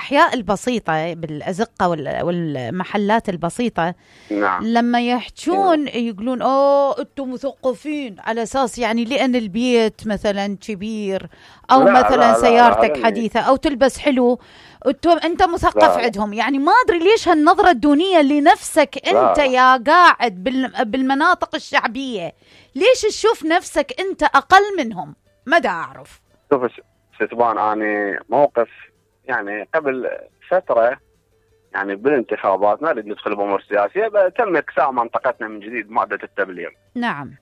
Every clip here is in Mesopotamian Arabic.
بالأحياء البسيطة بالأزقة والمحلات البسيطة، نعم. لما يحجون يقولون أنتم مثقفين، على أساس يعني لأن البيت مثلا كبير أو لا مثلا لا سيارتك لا حديثة أو تلبس حلو، أنت مثقف لا. عندهم. يعني ما أدري ليش هالنظرة الدونية لنفسك أنت لا. يا قاعد بالمناطق الشعبية، ليش تشوف نفسك أنت أقل منهم؟ ما دا أعرف. شوف ستبان، أنا موقف يعني قبل فترة يعني بالانتخابات، ما نريد ندخل بأمور سياسية، تم إكساء منطقتنا من جديد مادة التبليغ. نعم.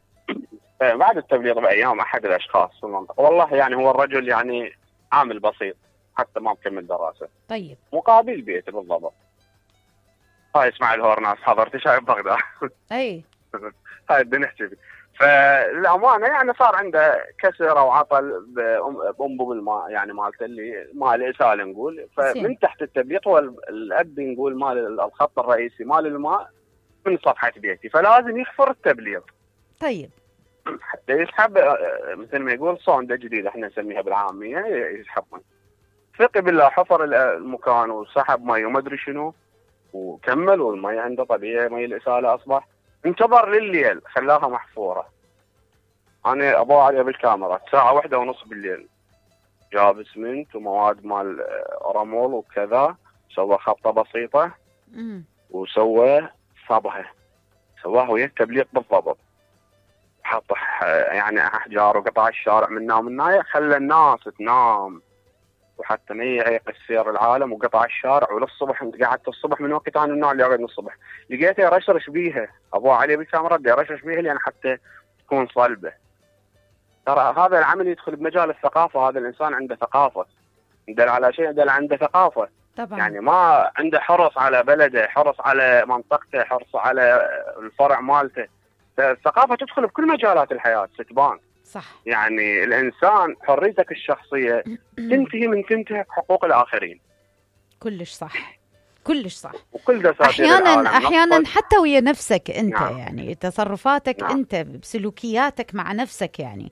بعد التبليغ بأيام أحد الأشخاص في المنطقة، والله يعني هو الرجل يعني عامل بسيط حتى ما مكمل دراسة. طيب. مقابل بيته بالضبط. هاي اسمع الهورناس حضرتي شايف بغداد. أي. هاي بدنا نحكي فيه. فالأمانة يعني صار عنده كسر أو عطل بأنبوب الماء، يعني مالته اللي مال إسالة نقول. فمن تحت التبليغ هو الأب نقول مال الخط الرئيسي مال الماء من صفحة بيتي، فلازم يحفر التبليغ. طيب. حتى يسحب مثل ما يقول صوندة جديدة احنا نسميها بالعامية، يسحبون. ثقي بالله حفر المكان وسحب مي وما ادري شنو وكمل، والمي عنده طبيعي مي الإسالة أصبح. انتظر لليل خلاها محفورة. أنا أبغى عليها بالكاميرا 1:30 بالليل، جاب اسمنت ومواد مال رمول وكذا، سوى خبطة بسيطة وسوى صبها، سواها ويا التبليغ بالضبط. حط يعني أحجار وقطع الشارع منا ومنايا، خلى الناس تنام وحتى ما يعيق السير العالم، وقطع الشارع. وللصبح انت قعدت الصبح من وقت انا النوع اللي اقعد من الصبح لقيته يرشرش بيها، ابو علي بالكاميرا يرشرش بيها لان حتى تكون صلبه. ترى هذا العمل يدخل بمجال الثقافه، هذا الانسان عنده ثقافه، يدل على شيء، يدل عنده ثقافه طبعا. يعني ما عنده حرص على بلده، حرص على منطقته، حرص على الفرع مالته. الثقافه تدخل بكل مجالات الحياه ستبان. صح. يعني الإنسان حريتك الشخصية تنتهي من تنتهك حقوق الآخرين. كلش صح، كلش صح. وكل دساتير أحيانا حتى ويا نفسك أنت. نعم. يعني تصرفاتك نعم. أنت بسلوكياتك مع نفسك يعني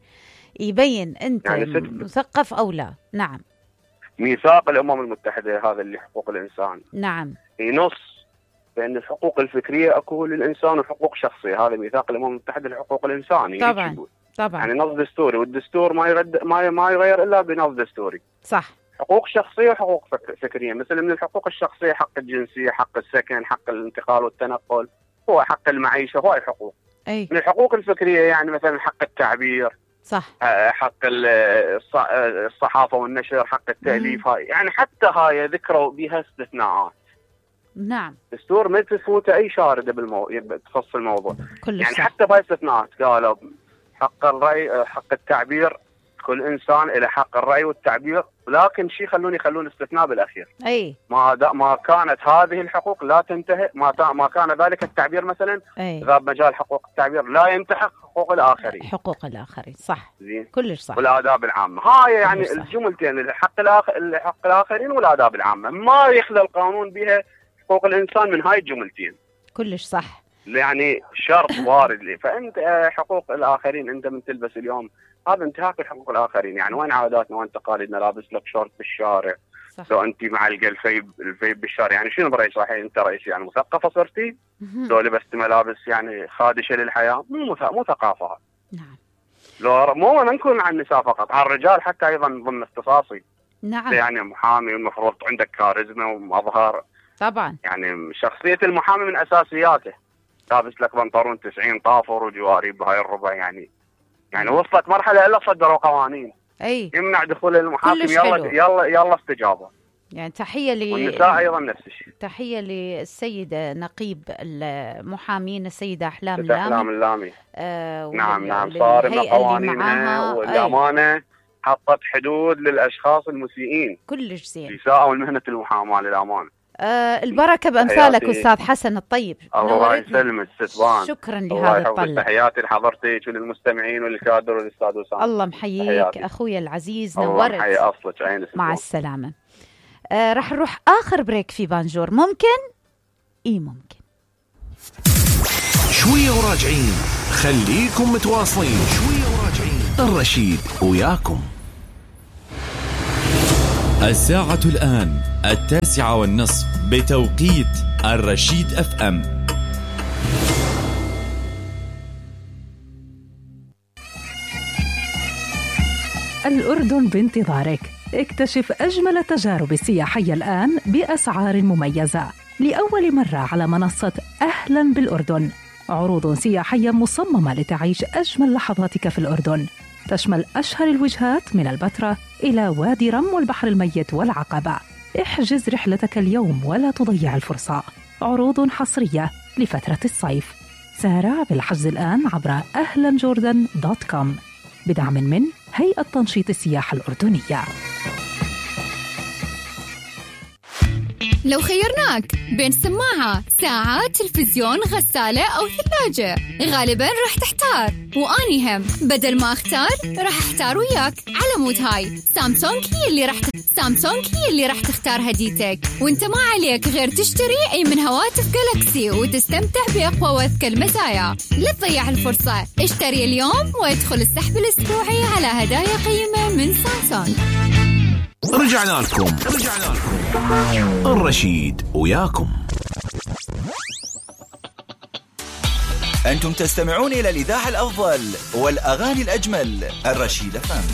يبين أنت يعني مثقف أو لا. نعم. ميثاق الأمم المتحدة هذا اللي حقوق الإنسان، نعم، ينص بأن الحقوق الفكرية أكو للإنسان وحقوق شخصية. هذا ميثاق الأمم المتحدة لحقوق الإنسان. طبعا طبعا. يعني نص دستوري، والدستور ما يغير إلا بنص دستوري. صح. حقوق شخصية وحقوق فكرية. مثل من الحقوق الشخصية حق الجنسية، حق السكن، حق الانتقال والتنقل، هو حق المعيشة، هو حقوق. أي. من الحقوق الفكرية يعني مثلا حق التعبير، صح، حق الصحافة والنشر، حق التأليف. هاي يعني حتى هاي ذكروا بها استثناءات. نعم. دستور ما تفوته أي شاردة تخص الموضوع. يعني صح. حتى بهاي استثناءات قالوا حق الرأي، حق التعبير، كل إنسان إلى حق الرأي والتعبير، ولكن يخلون استثناء بالأخير. أي. ما كانت هذه الحقوق لا تنتهي، ما كان ذلك التعبير مثلا غاب مجال حقوق التعبير لا ينتهك حقوق الآخرين. حقوق الآخرين صح. زين. كلش صح. والآداب العامة هاي يعني الجملتين، حق الآخرين والآداب العامة، ما يخلى القانون بها حقوق الإنسان من هاي الجملتين. كلش صح. يعني شرط وارد لي. فأنت حقوق الآخرين أنت من تلبس اليوم هذا انتهاك حقوق الآخرين. يعني وين عاداتنا وين تقاليدنا؟ لابس لك شورت بالشارع، صح. لو أنت معلقة الفيب بالشارع، يعني شنو برأيك صحيح أنت رئيس يعني مثقفة صرتي؟ لو لبست ملابس يعني خادشة للحياة مو ثقافة. نعم. لو مو أنا نكون عن النساء فقط، على الرجال حتى أيضا ضمن اختصاصي. نعم. يعني محامي والمفروض عندك كاريزما ومظهر. طبعا. يعني شخصية المحامي من أساسياته. لابس لك بنطلون 90 طافر وجوارب بهاي الربع. يعني وصلت مرحلة إلا صدروا قوانين أي يمنع دخول المحاكم. يلا استجابة. يعني تحية والنساء أيضا نفس الشيء. تحية للسيدة نقيب المحامين السيدة أحلام اللامي. نعم صارمة قوانينها، والأمانة حطت حدود للأشخاص المسيئين. كلش زين. يساءوا مهنة المحاماة للأمانة. البركة بأمثالك أستاذ حسن الطيب. الله يسلمك ستبان. شكرا لهذا الطلع. تحياتي لحضرتك وللمستمعين وللكادر والأستاذ وسام. الله محييك أخوي العزيز، نورت. الله محيي أصلك عين. مع السلامة. راح نروح آخر بريك في بانجور. ممكن؟ ممكن. شوية وراجعين، خليكم متواصلين. شوية وراجعين، الرشيد وياكم. الساعة الآن 9:30 بتوقيت الرشيد FM. الأردن بانتظارك. اكتشف أجمل التجارب السياحية الآن بأسعار مميزة لأول مرة على منصة أهلاً بالأردن. عروض سياحية مصممة لتعيش أجمل لحظاتك في الأردن، تشمل أشهر الوجهات من البتراء إلى وادي رم والبحر الميت والعقبة. احجز رحلتك اليوم ولا تضيع الفرصة. عروض حصرية لفترة الصيف. سارع بالحجز الآن عبر ahlanjordan.com بدعم من هيئة تنشيط السياحة الأردنية. لو خيرناك بين سماعة، ساعة، تلفزيون، غسالة أو ثلاجة، غالباً رح تحتار، وأني هم بدل ما أختار رح أحتار وياك. على مود هاي سامسونج هي اللي رح تختار هديتك، وانت ما عليك غير تشتري أي من هواتف جالكسي وتستمتع بأقوى وأذكى المزايا. لا تضيع الفرصة، اشتري اليوم وادخل السحب الأسبوعي على هدايا قيمة من سامسونج. رجعنا لكم الرشيد وياكم. أنتم تستمعون إلى الإذاعة الأفضل والأغاني الأجمل، الرشيد FM.